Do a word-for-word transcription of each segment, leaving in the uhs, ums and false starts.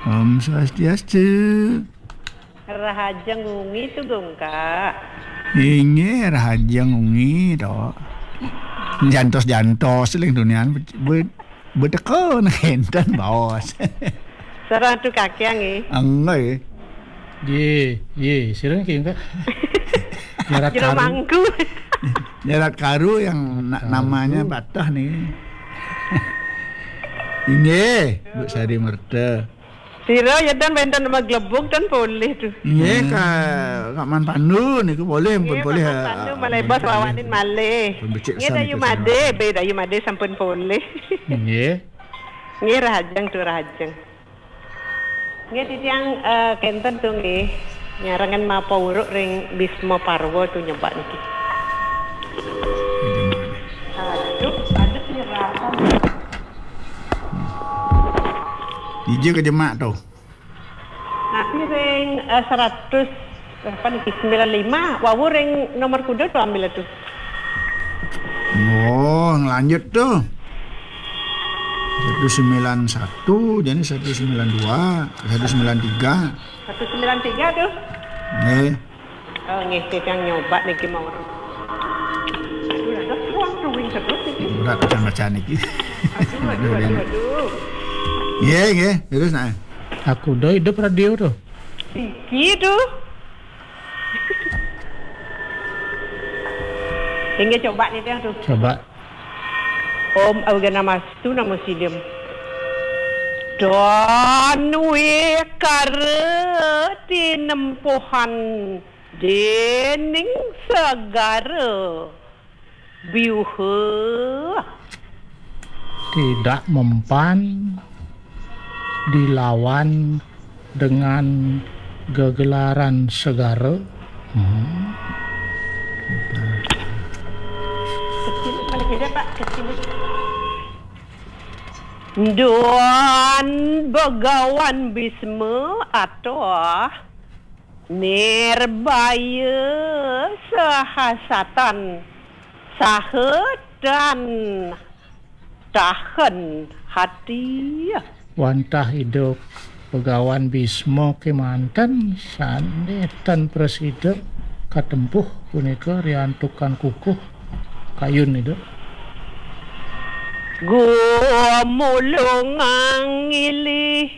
Om Swastiastu. Rahajeng wengi tu, Gungkak. Inggih, rahajeng wengi to. Jantos-jantos ling dunian be-, be-, beteka nenten baos. Sareng tu kakiang, eh. Enggak, eh. Ye, ye, sira niki, Gungkak? Nyerat Jero karu. Mangku. Nyerat karu yang na-, namanya patah nih. Inggih, Bu Sari Merta. Sira ya dan wenten maglebug dan polih tu. Nggih, hmm. Ka, Kak Man Pandu niku polih, pun polih, Kak Man Pandu, ah, malih bos rawanin malih. Pun becik. Nggih, san dayu niku made, be dayu made sampun polih. Nggih. Nggih, rahajeng tu rahajeng. Nggih, titiang, eh, kenten tu nggih. Nyarengan mapa uruk ring Bisma Parwa tu nyebak niki. Aduh, aduh, nyerasan. Ija kejemak tu. Napi ring, eh, seratus, apa niki, sembilan lima, wau ring nomor kuda tu ambil tu. Oh, ngelanjut tu. Satu sembilan satu, jadi satu sembilan dua, satu sembilan tiga. Satu sembilan tiga tu. Nggih. Oh, nggih, titiang nyoba niki mawon. Aduh, ada ruang drawing terus niki. Berat bacaan-bacaan niki. Aduh, aduh, aduh, aduh. Nggih, nggih, terus nah. Aku udah hidup radio tu. Iki tu. Inggih, coba niki tu. Coba. Om Awighnamastu Namo Siddham. Dan wekara tinempuhan dening segara biuha. Tidak mempan dilawan dengan gegelaran segara. Hmm. Kecil, balik aja, Pak, kecil. Duan Begawan Bisma atau Nirbaya sahasatan saha tan tahan hati. Wantah Ida Begawan Bisma kemanten sane tan prasida katempuh punika riantukan kukuh kayun Ida. Gumulungang ngilih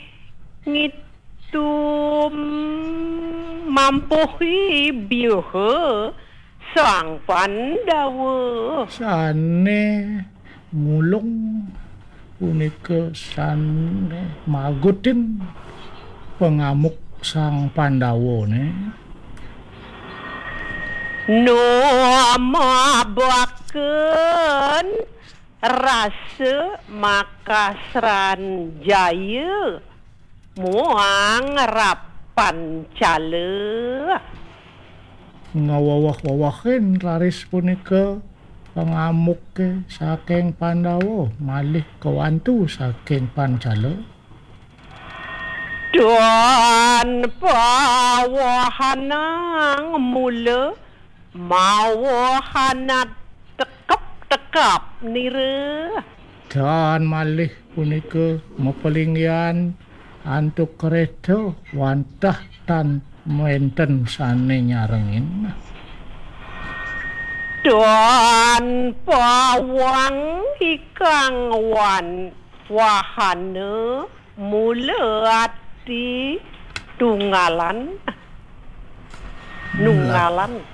ngitum mampuhi biuha Sang Pandawa. Sane mulung punika sane magutin pangamuk Sang Pandawane. Numabaken rasa makasran jaya muang rapan cala. Ngawawah-wawahin raris punika pangamuke saking Pandawa malih kawantu saking Pancala. Dan pawahanang mula mawahanat tekep-tekap nira. Dan malih punika mapalinggihan antuk kereta wantah tan wenten sane nyarengin. Dan pawang ikang wan wahana mula ati tunggalan. Nunggalan.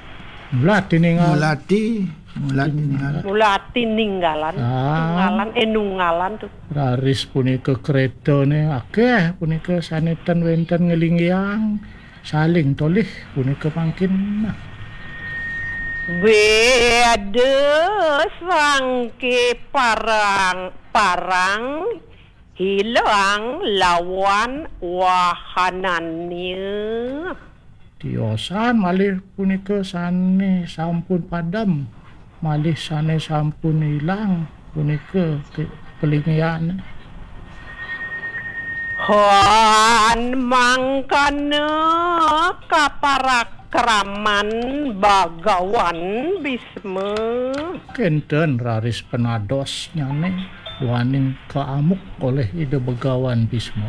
Mula ati ninggal. Mula ati, mula ati ninggal. Mula ati ninggalan. Ah. Tunggalan, eh, nunggalan tu. Raris punika kretane akeh punika sane ten wenten ngelinggiang saling tolih punika mangkin. Beda sangke parang, parang hilang lawan wahanannya. Tiosan malih punika sane sampun padem, malih sane sampun ilang punika ke-, pelingian. Han mangkana kaparakraman Bagawan Bisma. Kenten raris penadosnyane duaning kaamuk oleh Ida Begawan Bisma.